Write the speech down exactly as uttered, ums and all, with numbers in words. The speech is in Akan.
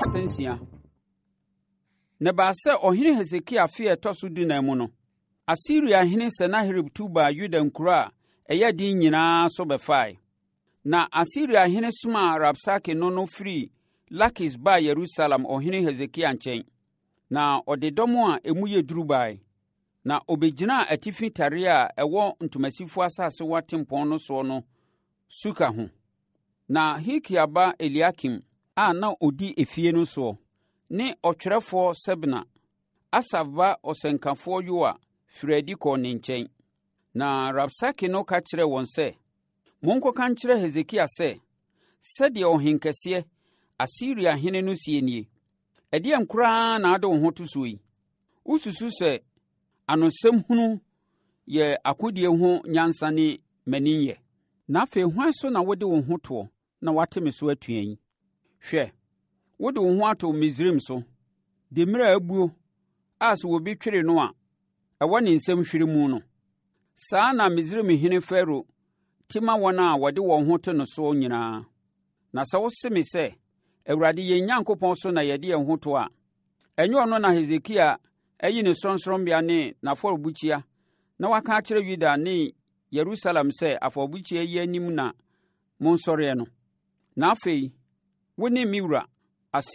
Nsia. Na ɛbaa sɛ ɔhene Hesekia afe a ɛtɔ so dunan mu no, Asiriahene Senaherib tu baa Yuda nkuro a ɛyɛ den nyinaa so bɛfae. Na Asiriahene somaa Rabsake no no firii Lakis baa Yerusalem ɔhene Hesekia nkyɛn. Na ɔde dɔm a emu yɛ duru bae. Na ɔbɛgyinaa atifi tareɛ a ɛwɔ ntomasifoɔ asasewa tempɔn no soɔ no suka ho. Na Hilkia ba Eliakim a na ɔdi efie no soɔ, ne ɔtwerɛfoɔ Sebna, Asaf ba ɔsɛnkafoɔ Yoa firii adi kɔɔ ne nkyɛn. Na Rabsake no ka kyerɛɛ wɔn sɛ, "Monkɔka nkyerɛ Hesekia sɛ, sɛdeɛ ɔhenkɛseɛ, Asiriahene no seɛ nie: Ɛdeɛn koraa na wode wo ho to soɔ yi? Wosusu sɛ anosɛm hunu yɛ akodie ho nyansa ne mmaninyɛ? Na afei hwan so na wode wo ho toɔ na woate me so atua yi? Hwɛ, wode wo ho ato Misraim so, demmire a abuo a sɛ obi twere no a, ɛwɔ ne nsam hwere mu no. Saa na Misraimhene Farao te ma wɔn a wɔde wɔn ho to no soɔ nyinaa. Na sɛ wose me sɛ, Awurade yɛn Nyankopɔn so na yɛde yɛn ho to a, ɛnyɛ ɔno na Hesekia ayi ne sorɔnsorɔmmea ne n'afɔrebukyia na waka akyerɛ Yuda ne Yerusalem sɛ afɔrebukyia yi anim na monsɔreɛ no. Na afei, wo ne me wura,